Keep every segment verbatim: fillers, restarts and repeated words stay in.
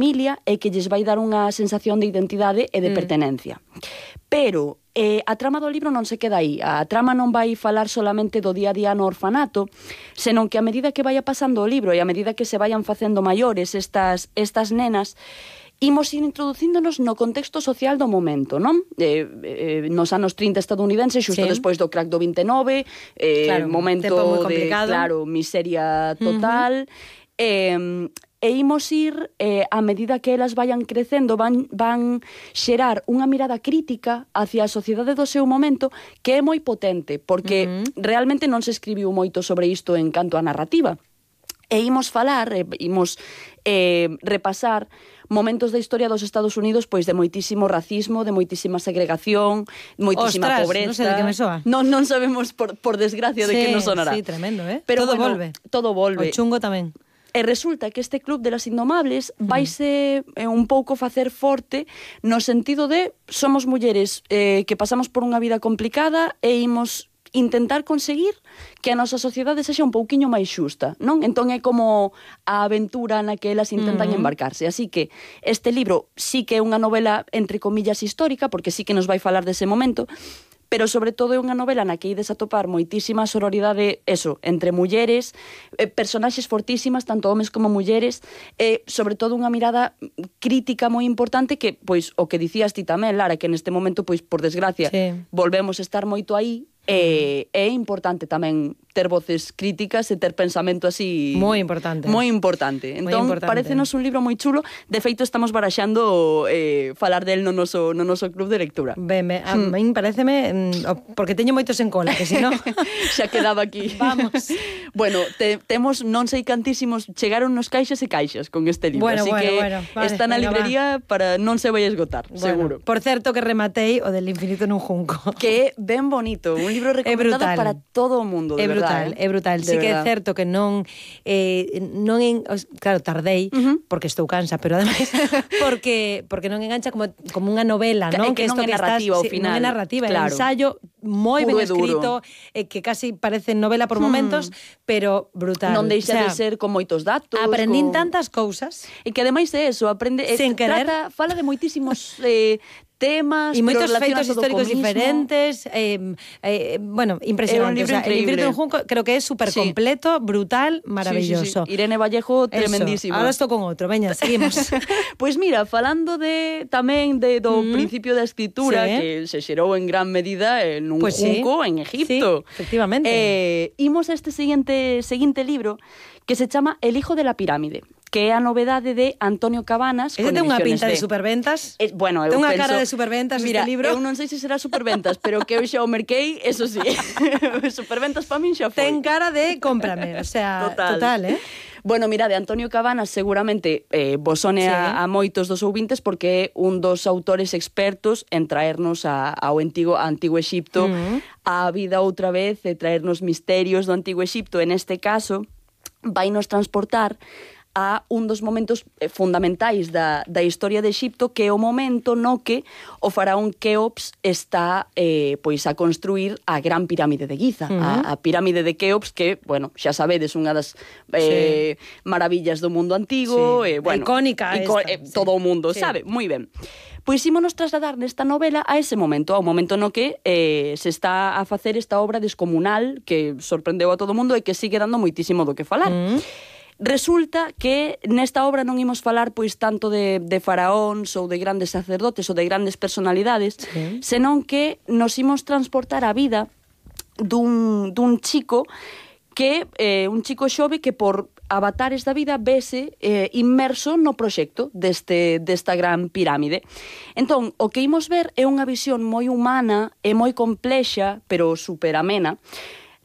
familia e que lles vai dar unha sensación de identidade e de mm. pertenencia. Pero eh, a trama do libro non se queda aí. A trama non vai falar solamente do día a día no orfanato, senón que a medida que vaya pasando o libro e a medida que se vayan facendo maiores estas, estas nenas, imos ir introducíndonos no contexto social do momento, non? Eh, eh, nos anos trinta estadounidenses, xusto sí. despois do crack do vinte e nove, eh, claro, momento de, claro, miseria total, uh-huh. eh, e imos ir, eh, a medida que elas vayan crecendo, van, van xerar unha mirada crítica hacia a sociedade do seu momento que é moi potente, porque uh-huh. realmente non se escribiu moito sobre isto en canto a narrativa. E imos falar, e imos eh, repasar momentos da historia dos Estados Unidos pois de moitísimo racismo, de moitísima segregación, moitísima Ostras, pobreza. Non sei de que me soa. Non, non sabemos, por, por desgracia, sí, de que nos sonará. Sí, tremendo, eh? Pero todo bueno, volve. Todo volve. O chungo tamén. E resulta que este club de las indomables vaise eh, un pouco facer forte no sentido de somos mulleres eh, que pasamos por unha vida complicada e imos intentar conseguir que a nosa sociedade sexa un pouquiño máis xusta, non? Entón é como a aventura na que elas intentan uh-huh. embarcarse. Así que este libro sí que é unha novela entre comillas histórica, porque sí que nos vai falar dese momento, pero sobre todo é unha novela na que ides a topar moitísima sororidade, eso, entre mulleres, eh, personaxes fortísimas, tanto homes como mulleres, e eh, sobre todo unha mirada crítica moi importante que, pois, o que dicías ti tamén, Lara, que neste momento, pois, por desgracia, sí. volvemos a estar moito aí, e é importante tamén ter voces críticas e ter pensamento así... Moi importante. Moi importante. Entón, parécenos un libro moi chulo. De feito, estamos baraxando eh, falar del no noso, no noso club de lectura. Ben, a hmm. min pareceme... Porque teño moitos en cola, que se non... Xa quedaba aquí. Vamos. Bueno, te, temos non sei cantísimos... Chegaron nos caixas e caixas con este libro. Bueno, así bueno, que bueno, vale, está na librería va. Para non se vai esgotar, bueno, seguro. Por certo que rematei o del infinito nun junco. Que é ben bonito. Un libro recomendado para todo o mundo, de é brutal, verdade. É brutal, é brutal. Sí que é certo que non eh, non en, claro, tardei uh-huh. porque estou cansa, pero ademais porque porque non engancha como como unha novela, non? Que, que, que non é narrativa ao final. Non é narrativa, claro. É ensayo moi ben escrito, eh, que casi parece novela por momentos, hmm. pero brutal. Non deixa o sea, de ser con moitos datos. Aprendín con... tantas cousas. E que ademais é eso, aprende, Sen querer. Trata, fala de moitísimos eh, temas, e moitos feitos históricos mismo. diferentes, eh, eh, bueno, impresionante. O sea, el infinito en Junco creo que é super completo, sí. brutal, maravilloso. Sí, sí, sí. Irene Vallejo, tremendísima. Ahora estou con outro, veña, seguimos. Pois pues mira, falando de tamén de do mm. principio da escritura, sí. que se xerou en gran medida en un pues junco sí. en Egipto. Sí, efectivamente. Eh, imos a este seguinte, seguinte libro que se chama El hijo de la pirámide, que é a novedade de Antonio Cabanas. Ese ten unha pinta de, de superventas. Es, bueno, eu ten unha penso, cara de superventas mira, este libro. Eu non sei se será superventas, pero que eu xa o merquei, eso sí. Superventas pa min xa foi. Ten cara de cómprame, o sea, total, total eh? Bueno, mira, de Antonio Cabanas seguramente eh, vos sone sí. a, a moitos dos ouvintes porque é un dos autores expertos en traernos a, ao antigo, a antigo Exipto, uh-huh. a vida outra vez, e traernos misterios do antigo Exipto. En este caso, vai nos transportar a un dos momentos fundamentais da, da historia de Exipto, que é o momento no que o faraón Keops está eh, pois a construir a gran pirámide de Giza, uh-huh. a, a pirámide de Keops, que, bueno, xa sabedes, unha das eh, sí. maravillas do mundo antigo, sí. eh, bueno, icónica ico, esta, eh, todo sí. o mundo, sí. sabe? Moi ben. Pois ímonos trasladar nesta novela a ese momento, ao momento no que eh, se está a facer esta obra descomunal que sorprendeu a todo o mundo e que sigue dando moitísimo do que falar. Mm. Resulta que nesta obra non imos falar pois tanto de, de faraóns ou de grandes sacerdotes ou de grandes personalidades, sí. senón que nos imos transportar a vida dun, dun chico que eh, un chico xove que por avatares da vida vese eh, inmerso no proxecto deste, desta gran pirámide. Entón, o que imos ver é unha visión moi humana e moi complexa, pero super amena,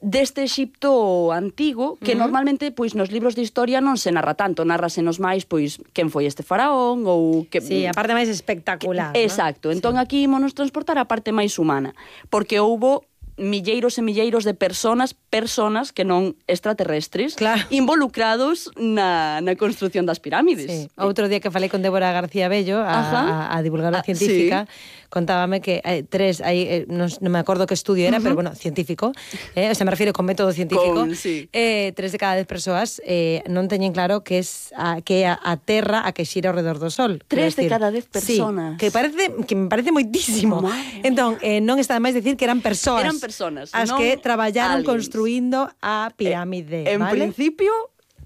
deste Exipto antigo, que uh-huh. normalmente pois nos libros de historia non se narra tanto, narrasenos máis pois quen foi este faraón ou que sí, a parte máis espectacular, que, exacto. ¿no? Entón sí. aquí ímonos transportar a parte máis humana, porque houbo milleiros e milleiros de personas, personas que non extraterrestres, claro. involucrados na, na construción das pirámides. Sí. Outro día que falei con Débora García Bello, a, a divulgadora ah, científica, sí. contábame que hai tres, hai, eh, non, non me acordo que estudio era, uh-huh. pero bueno, científico, eh, o sea, me refiro con método científico, con, sí. eh, tres de cada dez persoas eh, non teñen claro que es a, que a, a Terra a que xira ao redor do Sol. Tres de cada dez personas. Sí, que parece que me parece moitísimo. Madre entón, eh, non está de máis decir que eran persoas. Eran personas, as non que traballaron aliens. construindo a pirámide, eh, en vale? principio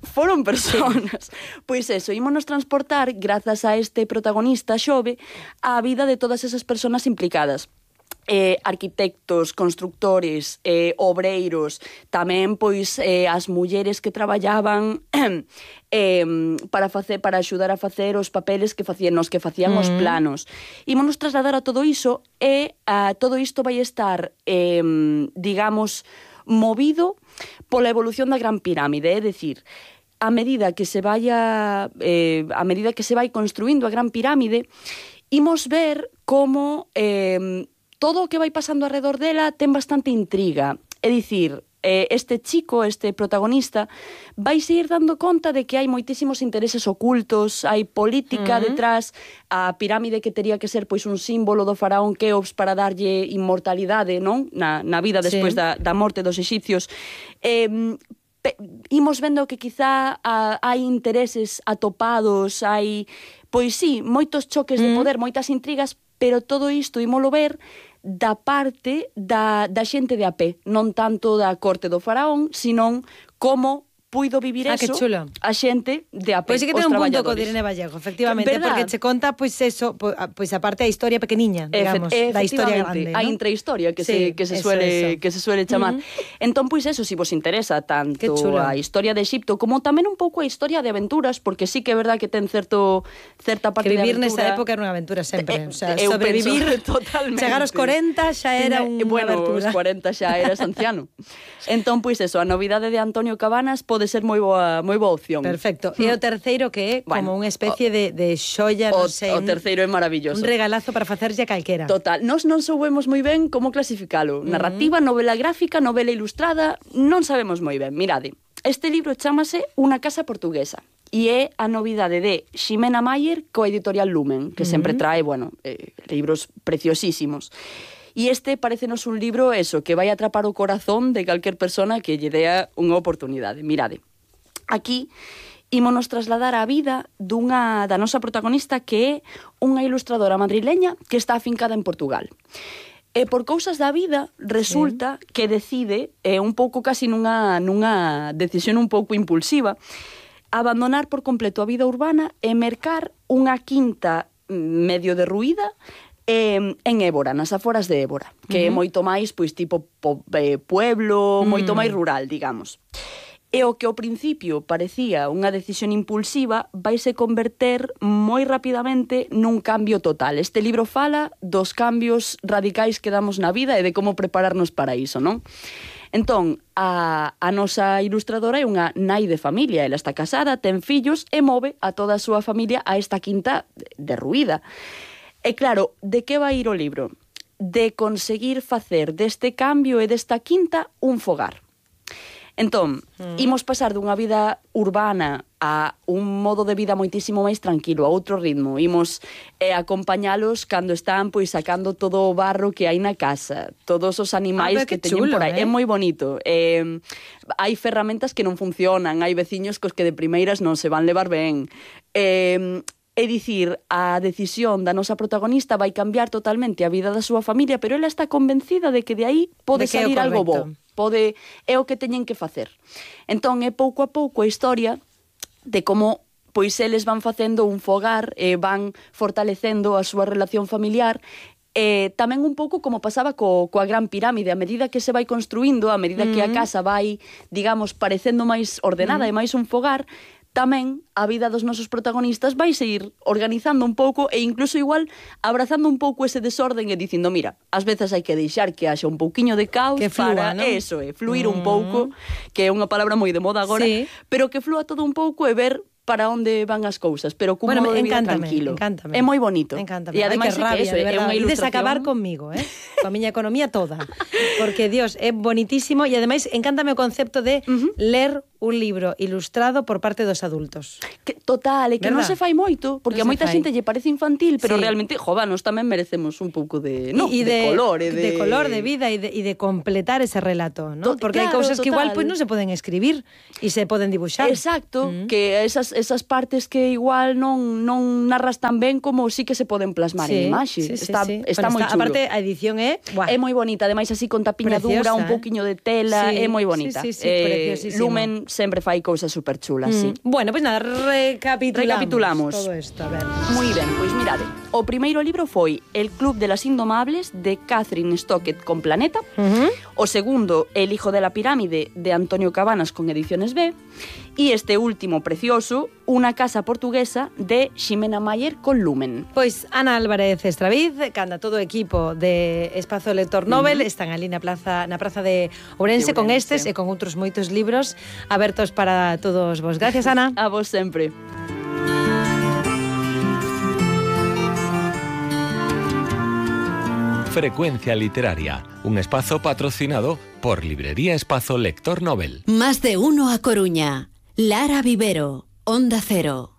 foron personas. Sí. Pois eso, ímonos transportar, grazas a este protagonista xove, a vida de todas esas personas implicadas. Eh, arquitectos, constructores, eh, obreiros, tamén pois eh, as mulleres que traballaban eh, para facer para axudar a facer os papeles que facían os que facían mm. os planos. Ímonos trasladar a todo iso e a todo isto vai estar eh, digamos movido pola evolución da Gran Pirámide, é dicir, a medida que se vaya eh, a medida que se vai construindo a Gran Pirámide, imos ver como eh, todo o que vai pasando alrededor dela ten bastante intriga. É dicir, eh, este chico, este protagonista, vai ir dando conta de que hai moitísimos intereses ocultos, hai política uh-huh. detrás, a pirámide que tería que ser pois un símbolo do faraón Keops para darlle inmortalidade, non? Na, na vida despois sí. da, da morte dos exipcios. Eh, pe, imos vendo que quizá a, hai intereses atopados, hai, pois sí, moitos choques uh-huh. de poder, moitas intrigas, pero todo isto ímolo ver da parte da, da xente de a pé, non tanto da corte do faraón, senón como puido vivir ah, eso a xente de a pé, pois sí que ten un punto co Irene Vallejo, efectivamente, ¿verdad? Porque che conta pois eso, pois a parte da historia pequeniña, digamos, Efe, da historia grande, a ¿no? intrahistoria que sí, se que se eso, suele eso. que se suele chamar. Uh-huh. Entón pois eso, si vos interesa tanto a historia de Egipto como tamén un pouco a historia de aventuras, porque sí que é verdad que ten certo certa parte que vivir de aventura. Nesa época era unha aventura sempre, Eh, o sea, eu sobrevivir totalmente. Chegar aos corenta xa era unha bueno, aventura. Bueno, os corenta xa eras anciano. Entón pois eso, a novidade de Antonio Cabanas pode ser moi boa moi boa opción. Perfecto. E o terceiro que é como bueno, unha especie o, de, de xoia, non sei. O terceiro é maravilloso. Un regalazo para facerlle a calquera. Total. Nos non soubemos moi ben como clasificalo. Uh-huh. Narrativa, novela gráfica, novela ilustrada, non sabemos moi ben. Mirade, este libro chámase Unha casa portuguesa e é a novidade de Ximena Mayer coa editorial Lumen, que uh-huh. sempre trae, bueno, eh, libros preciosísimos. E este parecenos un libro, eso, que vai atrapar o corazón de calquer persona que lle dea unha oportunidade. Mirade, aquí ímonos trasladar a vida dunha da nosa protagonista que é unha ilustradora madrileña que está afincada en Portugal. E por cousas da vida resulta sí. que decide, eh, un pouco casi nunha, nunha decisión un pouco impulsiva, abandonar por completo a vida urbana e mercar unha quinta medio derruída eh, en Évora, nas aforas de Évora, que uh-huh. é moito máis, pois, tipo po, eh, pueblo, uh-huh. moito máis rural, digamos. E o que ao principio parecía unha decisión impulsiva vaise converter moi rapidamente nun cambio total. Este libro fala dos cambios radicais que damos na vida e de como prepararnos para iso, non? Entón, a, a nosa ilustradora é unha nai de familia, ela está casada, ten fillos e move a toda a súa familia a esta quinta derruída. E claro, de que vai ir o libro? De conseguir facer deste cambio e desta quinta un fogar. Entón, mm. imos pasar dunha vida urbana a un modo de vida moitísimo máis tranquilo, a outro ritmo. Imos eh, acompañalos cando están pois sacando todo o barro que hai na casa, todos os animais ah, que, que teñen por aí. Eh? É moi bonito. Eh, hai ferramentas que non funcionan, hai veciños cos que de primeiras non se van levar ben. Eh, É dicir, a decisión da nosa protagonista vai cambiar totalmente a vida da súa familia, pero ela está convencida de que de aí pode salir algo bo. Pode, é o que teñen que facer. Entón, é pouco a pouco a historia de como pois eles van facendo un fogar e van fortalecendo a súa relación familiar. Eh, tamén un pouco como pasaba co, coa Gran Pirámide, a medida que se vai construindo, a medida mm-hmm. que a casa vai, digamos, parecendo máis ordenada mm-hmm. e máis un fogar, tamén a vida dos nosos protagonistas vai seguir organizando un pouco e incluso igual abrazando un pouco ese desorden e dicindo, mira, ás veces hai que deixar que haxa un pouquiño de caos que flúa, para, ¿no? Eso, é, fluir mm. un pouco, que é unha palabra moi de moda agora, sí. pero que flúa todo un pouco e ver para onde van as cousas, pero cun bueno, modo de vida encántame, tranquilo. Encántame. É moi bonito. Encántame. E ademais Ai, que rabia, é que eso, de é verdade. unha Ides ilustración. acabar conmigo, eh? Coa miña economía toda. Porque, Dios, é bonitísimo e ademais encántame o concepto de uh-huh. ler un libro ilustrado por parte dos adultos. Que, total, é que non se fai moito, porque non a moita fai. xente lle parece infantil, pero sí. realmente, jovanos, tamén merecemos un pouco de, no, y, y de, de color, e de, de... de color, de vida e de, y de completar ese relato, ¿no? To, porque claro, hai cousas total. que igual pues, non se poden escribir e se poden dibuixar. Exacto, mm. que esas, esas partes que igual non, non narras tan ben como sí que se poden plasmar sí, en imaxe. Sí, sí, está sí. está bueno, moi está, chulo. Aparte, a edición é... Buah. É moi bonita, ademais así con tapiña Preciosa, dura, un eh? pouquiño de tela, sí, é moi bonita. Sí, sí, sí, eh, preciosísima. Lumen sempre fai cousas super chulas, mm. sí. Bueno, pois pues nada, recapitulamos, recapitulamos todo isto, a ver. Moi ben, pois mirade, o primeiro libro foi El Club de las Indomables, de Catherine Stockett, con Planeta. Uh-huh. O segundo, El Hijo de la Pirámide, de Antonio Cabanas, con Ediciones B. E este último precioso, Una casa portuguesa, de Ximena Mayer, con Lumen. Pois Ana Álvarez Estraviz, canda todo o equipo de Espazo Lector Nobel, uh-huh. están ali na plaza na praza de Ourense, de Ourense con estes e con outros moitos libros abertos para todos vos. Gracias, Ana. A vos sempre. Frecuencia Literaria, un espazo patrocinado por Librería Espazo Lector Nobel. Más de uno a Coruña. Lara Vivero, Onda Cero.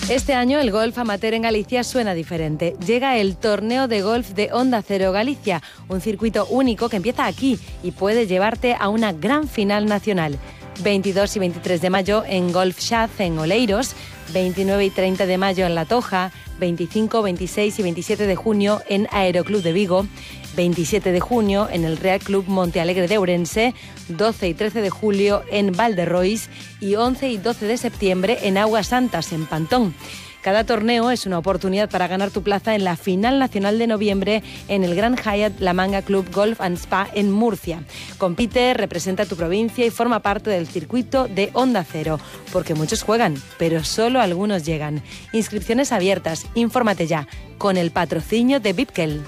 Este año el golf amateur en Galicia suena diferente. Llega el torneo de golf de Onda Cero Galicia, un circuito único que empieza aquí y puede llevarte a una gran final nacional. veintidós y veintitrés de mayo en Golf Shaz en Oleiros, veintinueve y treinta de mayo en La Toja, veinticinco, veintiséis y veintisiete de junio en Aeroclub de Vigo, veintisiete de junio en el Real Club Montealegre de Ourense, doce y trece de julio en Valderrois y once y doce de septiembre en Aguas Santas, en Pantón. Cada torneo es una oportunidad para ganar tu plaza en la final nacional de noviembre en el Gran Hyatt La Manga Club Golf and Spa en Murcia. Compite, representa tu provincia y forma parte del circuito de Onda Cero, porque muchos juegan, pero solo algunos llegan. Inscripciones abiertas, infórmate ya, con el patrocinio de Bipkel.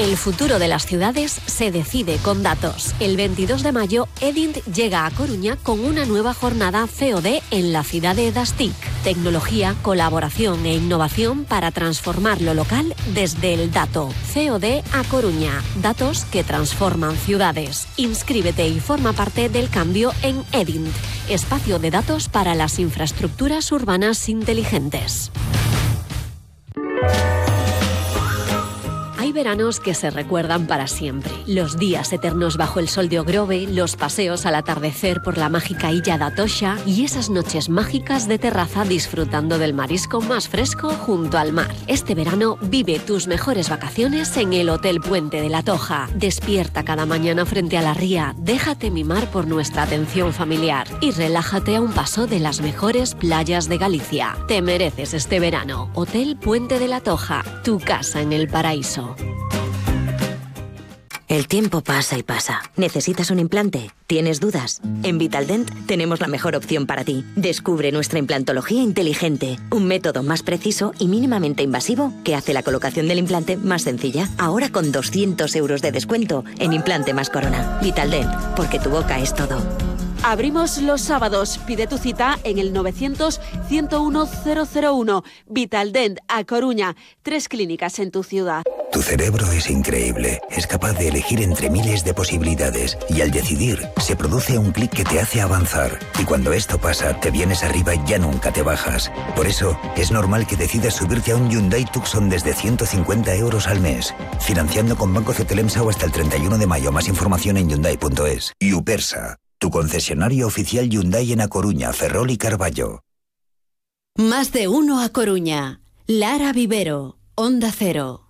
El futuro de las ciudades se decide con datos. El veintidós de mayo, Edint llega a Coruña con una nueva jornada C O D en la ciudad de Das T I C. Tecnología, colaboración e innovación para transformar lo local desde el dato. C O D a Coruña. Datos que transforman ciudades. Inscríbete y forma parte del cambio en Edint. Espacio de datos para las infraestructuras urbanas inteligentes. Hay veranos que se recuerdan para siempre. Los días eternos bajo el sol de Ogrove, los paseos al atardecer por la mágica Illa da Toxa y esas noches mágicas de terraza disfrutando del marisco más fresco junto al mar. Este verano vive tus mejores vacaciones en el Hotel Puente de la Toja. Despierta cada mañana frente a la ría, déjate mimar por nuestra atención familiar y relájate a un paso de las mejores playas de Galicia. Te mereces este verano. Hotel Puente de la Toja, tu casa en el paraíso. El tiempo pasa y pasa. ¿Necesitas un implante? ¿Tienes dudas? En Vitaldent tenemos la mejor opción para ti. Descubre nuestra implantología inteligente, un método más preciso y mínimamente invasivo que hace la colocación del implante más sencilla. Ahora con doscientos euros de descuento en Implante más Corona. Vitaldent, porque tu boca es todo. Abrimos los sábados. Pide tu cita en el novecientos, ciento uno, cero cero uno. Vitaldent, a Coruña. Tres clínicas en tu ciudad. Tu cerebro es increíble. Es capaz de elegir entre miles de posibilidades. Y al decidir, se produce un clic que te hace avanzar. Y cuando esto pasa, te vienes arriba y ya nunca te bajas. Por eso, es normal que decidas subirte a un Hyundai Tucson desde ciento cincuenta euros al mes. Financiando con Banco Cetelemsa o hasta el treinta y uno de mayo. Más información en Hyundai punto es. Upersa, tu concesionario oficial Hyundai en A Coruña, Ferrol y Carballo. Más de uno a Coruña. Lara Vivero, Onda Cero.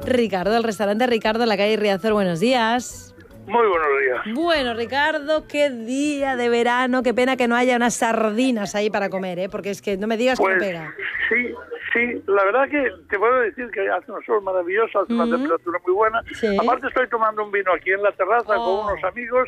Ricardo, el restaurante Ricardo en la calle Riazor, buenos días. Muy buenos días. Bueno, Ricardo, qué día de verano, qué pena que no haya unas sardinas ahí para comer, ¿eh? Porque es que no me digas pues, que no pega. Sí, sí, la verdad que te puedo decir que hace un sol maravilloso, hace uh-huh. una temperatura muy buena. ¿Sí? Aparte estoy tomando un vino aquí en la terraza oh. con unos amigos.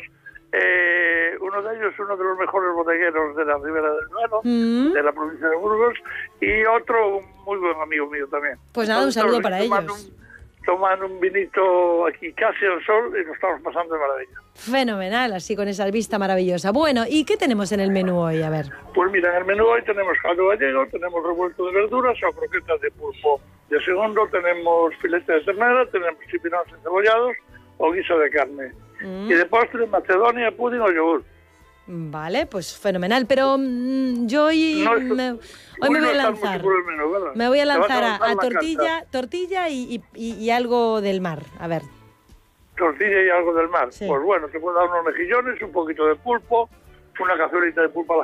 Eh, uno de ellos, uno de los mejores bodegueros de la Ribera del Duero, mm. de la provincia de Burgos, y otro un muy buen amigo mío también. Pues nada, un saludo para ellos. Un, tomando un vinito aquí casi al sol y nos estamos pasando de maravilla. Fenomenal, así con esa vista maravillosa. Bueno, ¿y qué tenemos en el menú hoy? A ver. Pues mira, en el menú hoy tenemos caldo gallego, tenemos revuelto de verduras o croquetas de pulpo. De segundo tenemos filete de ternera, tenemos chipinones encebollados o guiso de carne. Mm. Y de postre, macedonia, pudding o yogur. Vale, pues fenomenal. Pero mmm, yo hoy, no, esto, me, hoy, hoy me voy a lanzar. Menú, me voy a lanzar a, a, a tortilla, tortilla y, y, y algo del mar. A ver. Tortilla y algo del mar. Sí. Pues bueno, te puedo dar unos mejillones, un poquito de pulpo, una cazuelita de pulpo a la